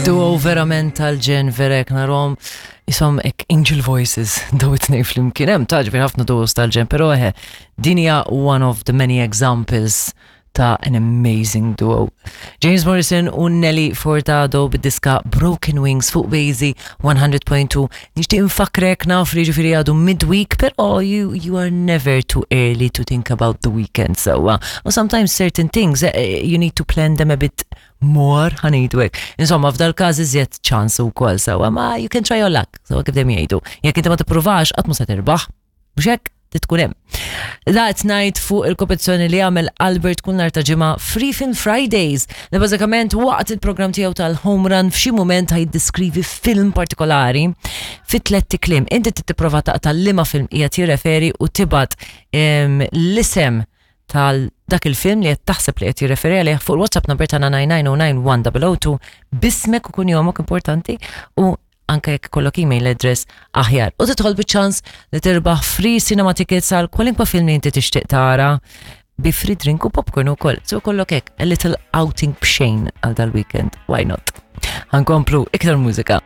Duo verament tal-ġen verek narom isom ek angel voices daw it-tnejn flimkien. Hemm taġbi ħafna duos tal-ġen, però eħe din hija one of the many examples ta' an amazing duo. James Morrison u Nelly Furtado bid-diska Broken Wings fuq Bazy 100.2. Nixtieq infakrek naf li ġifieri għadu midweek, però you, you are never too early to think about the weekend sewwa. U sometimes certain things eh, eh, you need to plan them a bit more ħanejdu hekk. Insomma, f'dal każ iżjed ċans ukoll sewwa, ma you can try your luck, sewwa kif dejjem jgħidu. Jekk inti ma tippruvax qatt mhu se tirbaħ. Mhux hekk? Trid tkun hemm. That night fuq il-kompetizzjoni li għamel Albert kull nhar ta' ġimgħa Free Film Fridays li bażikament waqt il-programm tiegħu tal-Home Run f'xi mument ħa jiddeskrivi film partikolari fi tlett kliem. Inti trid tipprova taqta' liema film qiegħed jirreferi u tibgħat l-isem tal dak il-film li qed taħseb li qed jirreferi għalih fuq il-WhatsApp number tagħna 99091002 bismek u kunjomok importanti u anke jekk ikollok email address aħjar. U tidħol biċ-ċans li tirbaħ free cinema tickets għal kwalinkwa film li inti tixtieq tara bi free drink u popcorn ukoll. So kollok hekk a little outing b'xejn għal dal-weekend. Why not? Ħankomplu iktar mużika.